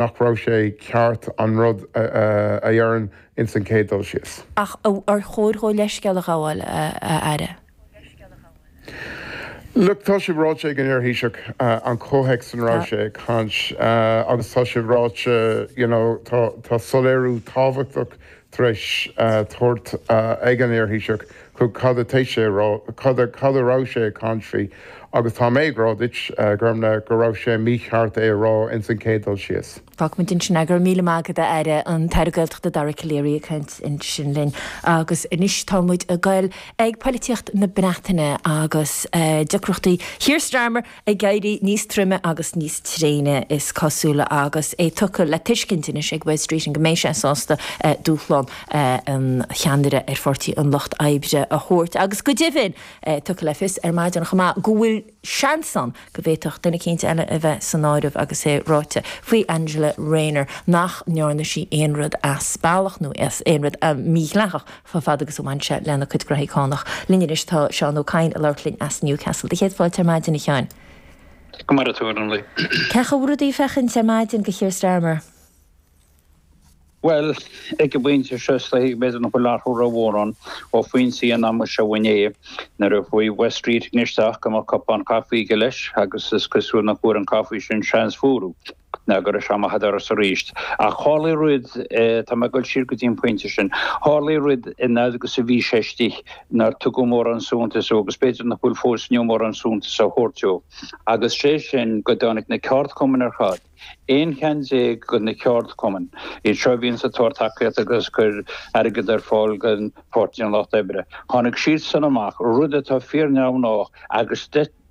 Nach raibh sé ceart an rud a dheireann ins an chéad dul síos. Ach ar chóir dhó leithscéal a ghabháil, a Aire? Look, tá sé ráite ag an iar-Thaoiseach an comhthéacs ina raibh sé ag caint agus tá sé ráite, you know, tá tá soiléiriú tábhachtach tar éis tabhairt ag an iar-Thaoiseach chuig cad atá sé a rá, cad a cad a raibh sé ag caint faoi agus tá mé ag rá duit, Gormfhlaith, go raibh sé mícheart é a rá ins an chéad dul síos. Fágfaimid ansin é. Go raibh míle maith agat, a Aire. An tAire Gaeltachta Dara Calleary ag caint ansin linn. Agus anois tá muid ag goil ag poilitíocht na Breataine agus deacrachtaí Keir Starmer ag éirí níos troime agus níos tréine, is cosúil, agus é tugtha le tuiscint anois ag Wes Streeting go mbeidh sé sásta dúshlán an cheannaire ar Pháirtí an Lucht Oibre a thabhairt. Agus go deimhin, tugtha le fios ar maidin chomh maith go bhfuil seans ann go bhféadfadh duine eicínt eile a bheith san áireamh agus é ráite faoi Angela Rayner nach ndearna sí aon rud as bealach nó aon rud mídhleathach Chomh fada agus a bhain sé lena cuid graithí cánach. Linn anois tá Seán Ó Cadhain ag labhairt linn as Newcastle. Do chéad fáilte ar maidin, a Sheáin. Go maire tú, a Ghormfhlaith. Cén chaoi a bhfuil rudaí ag féachaint ar maidin do Keir Starmer? Bhuel, ag an bpointe seo is dóichí b'fhéidir nach bhfuil athrú rómhór ann ó phointí an ama seo inné nuair a chuaigh Wes Streeting isteach go mbeadh cupán caife aige leis agus is cosúil nach bhfuair an caife sin seans fuarú. ná go raibh sé amach an doras arís. Ach tharlaigh rud, tá mé ag dul siar go dtí an pointe sin, tharlaigh rud an fhad agus a bhí sé istigh nár tugadh mórán suntais dó agus b'fhéidir nach bhfuil fós inniu mórán suntais á thabhairt dó, agus sé sin go dtáinig na ceardchumainn ar fad, 11 cheann de na ceardchumainn, iad seo a bhíonns ag tabhairt tacaíocht agus ag cur airgead ar fáil don Pháirtí an Lucht Oibre, tháinig siadsan amach, rud atá fíor-neamhghnách agus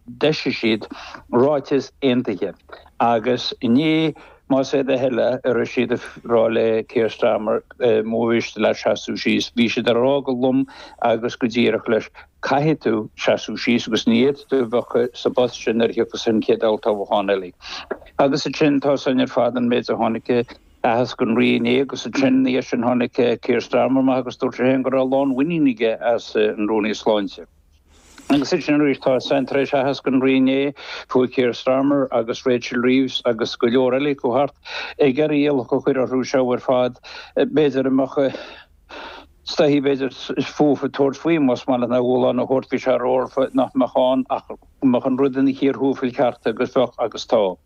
D'eisigh siad ráiteas aontaithe agus inné, más é do thoil é, a raibh siad ag rá le Keir Starmer, má mhiste leat seasamh síos. Bhí siad ag rá go lom agus go díreach leis, caithfidh tú seasamh síos agus ní fhéadfaidh tú a bheith sa bpost sin nuair a thiocfas an chéad olltoghchán eile. Agus ansin, tá a fhios againn ar fad an méid a tháinig aitheasc an Rí inné agus ansin ina dhiaidh sin tháinig Keir Starmer amach agus dúirt sé féin go raibh lánmhuinín aige as an Rúnaí Sláinte. Agus ansin arís, tá san tar éis aitheasc an Rí inné, chuaigh Keir Starmer agus Rachel Reeves agus go leor eile acu thart ag iarraidh iallach a chur orthu seo ar fad. B'fhéidir a mbeadh is dóichí, b'fhéidir fúthu tabhairt faoi, más maith leat, ná dúshlán a thabhairt, bhí sé rófhada nach mbeadh ann ach go mbeadh an rud ina chíor thuaifil ceart agus bheadh agus tá.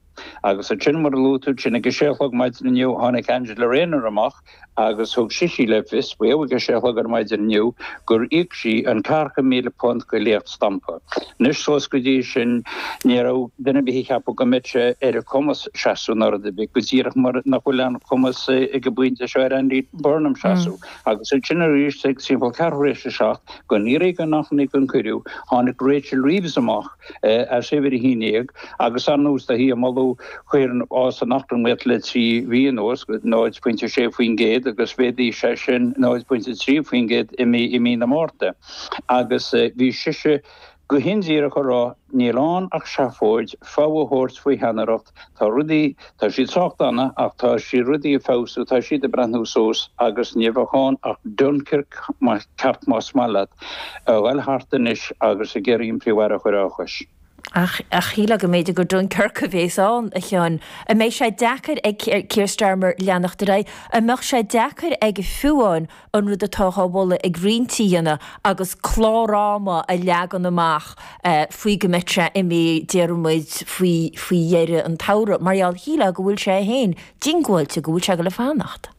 Agus ansin, mar a luaigh tú, ansin ag a sé a chlog maidin inniu, tháinig Angela Rayner amach agus thug sise le fios, faoi ag a sé a chlog ar maidin inniu, gur íoc sí an £40,000 go léacht stampa. Anois, suas go dtí sin, ní raibh duine ar bith ag ceapadh go mbeadh sé ar a cumas seasamh ná rud ar bith, go díreach mar nach bhfuil aon chumas ag an bpointe seo ar Andy Burnham seasamh. Agus ansin arís, ag timpeall ceathrú tar éis a seacht, gan iarraidh gan achainí gan cuireadh, tháinig Rachel Reeves amach, as uimhir 11, agus ar ndóigh tá sí ag moladh chuir an fhás san eacnamaíocht le 3 mhí anuas go 0.6% agus mhéadaigh sé sin 0.3% i mí i mí na Márta. Agus bhí sise go hindíreach ag rá níl ann ach seafóid, fogha a thabhairt faoi cheannaireacht, tá rudaí, tá siad sách dona ach tá siad rudaí ag feabhsú, tá siad ag breathnú suas agus ní bheadh ann ach Dunkirk ceart más maith leat, a ghoil thart anois agus ag iarraidh an Príomh-Aire a chur á chois. Ach shílfeá go mb'fhéidir gur Dunkirk a bhéas ann, a Sheáin. An mbeidh sé deacair ag Keir Starmer leanacht ar aghaidh? An mbeadh sé deacair aige fiú amháin an rud atá á mholadh ag roinnt a dhéanamh agus clár ama a leagan amach faoi go mbeidh sé imithe, déarfaidh muid, faoi faoi dheireadh an tsamhraidh, mar gheall, shílfeá go bhfuil sé féin diongbháilte go bhfuil sé ag dul a fanacht.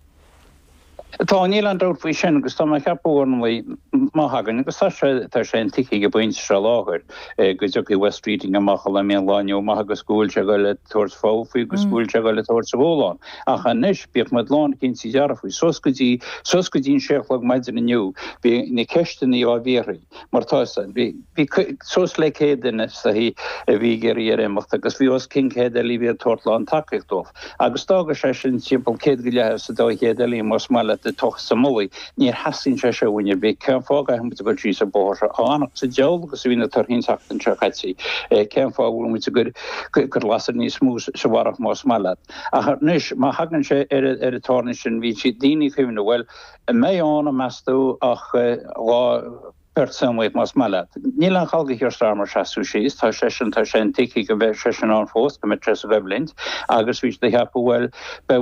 Tá, níl aon dabht faoi sin agus tá mé ag ceapadh, ar ndóigh, má thagann, agus tá sé, tá sé intuigthe ag an bpointe seo láthair, go dtiocfaidh Wes Streeting amach a mbeidh an lá inniu amach agus go bhfuil sé ag dul a tabhairt fogha faoi agus go bhfuil sé ag dul a tabhairt a dhúshlán. Ach anois, bíodh muid lánchinnte dearfa faoi, suas go dtí, suas go dtí an sé a chlog maidin inniu, bhí na ceisteanna á bhfiafraí, mar tá 'fhios a'd, bhí, bhí suas le 100 duine is dóichí a bhí ag iarraidh air imeacht agus bhí os cionn 100 eile a bhí ag tabhairt lán tacaíocht dóibh. Agus d'fhága sé sin timpeall 100 go leith is a 200 eile, más maith leat, ag tochas a mullaigh. Níor theastaíonn sé seo uainn ar bith. Cén fáth a gcaithfidh muid a dhul síos an bóthar seo? Chomh fánach sa diabhal agus a bhí na torthaí an tseachtain seo caite, cén fáth a bhfuil muid ag cur lasair níos mó sa bharrach más maith leat? Ach anois, má thagann sé ar an tairne sin, bhí siad daoine ag cuimhneamh, bhuel, an mbeidh ann, meas tú, ach lá. Beart samhlaíoch más maith leat. Níl aon chall do Keir Starmer seasamh síos, tá seisean, tá sé intuigthe go mbeidh seisean ann fós, go mbeidh sé sa gcoimhlint agus bhí siad ag ceapadh, bhuel, beidh.